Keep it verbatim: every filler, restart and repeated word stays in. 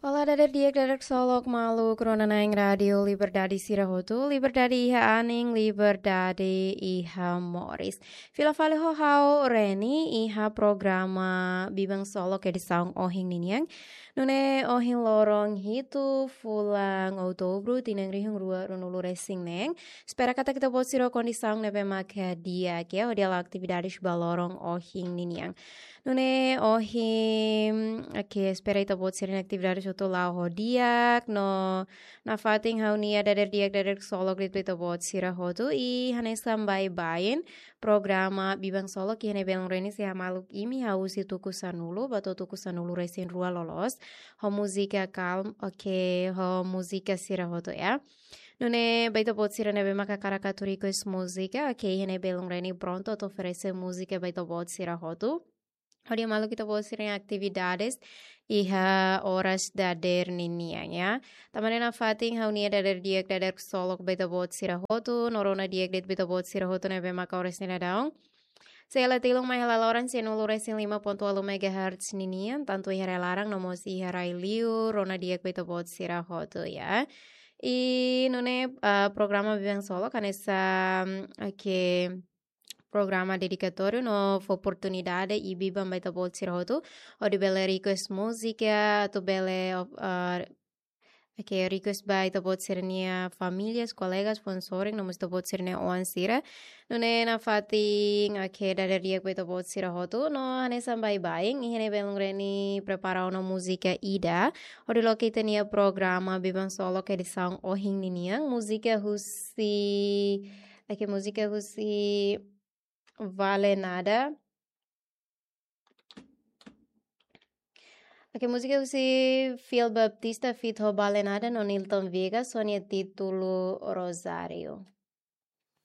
Olá, dader di'ak, dader ksolok, maluk rona na'in Rádiu Liberdade sira hotu, liberdade iha anin, liberdade iha moris. Fila fali ho ha'u Reni iha programa Biban Ksolok edisaun ohin ninian. Nune'e ohin loron hitu fulan Outubru, tinan rihun rua ruanulu resin neen. Espera katak ita-boot sira kondisaun ne'ebé maka di'ak, hodi hala'o atividades ba loron ohin ninian. Nune'e ohin, oke, espera ita-boot sira-nia atividades hotu la'o ho di'ak, no nafatin ha'u-nia dader di'ak, dader ksolok de'it ba ita-boot sira hotu, i hanesan baibain programa Biban Ksolok iha ne'e belun Reni sei hamaluk imi husi tuku sanulu ba to'o tuku sanulu resin rua loloos, ho múzika kalma, oke, ho múzika sira hotu, ya. Nune'e ba ita-boot sira ne'ebé maka hakarak atu request múzika, oke, iha ne'e belun Reni prontu atu oferese múzika ba ita-boot sira hotu, hodi hamaluk ita-boot sira-nia atividades iha oras dader ninian, ya. Tanba ne'e nafatin ha'u-nia dader di'ak, dader ksolok ba ita-boot sira hotu, no rona di'ak de'it ba ita-boot sira hotu ne'ebé maka oras ne'e daudaun sei hela tilun mai hela loron sianulu resin lima pontu ualu megahertz ninian, tantu iha rai-laran no mós iha rai-liur, rona di'ak ba ita-boot sira hotu, ya. I nune'e, ah, programa Biban Ksolok hanesan, oke, programa dedikatóriu no fó oportunidade i biban ba ita-boot sira hotu, hodi bele request múzika, atu bele, ah, oke, request ba ita-boot sira-nia famílias, kolegas, foun-sorin, no mós ita-boot sira-nia oan sira. Nune'e nafatin, oke, dader di'ak ba ita-boot sira hotu, no hanesan baibain, iha ne'e belun Reni prepara ona múzika ida, hodi loke ita-nia programa Biban Ksolok edisaun ohin ninian, múzika husi, oke, múzika husi Vale Nada. Oke, múzika husi Fiel Baptista feat ho Vale Nada no Nilton Viegas, ho nia títulu Rosário.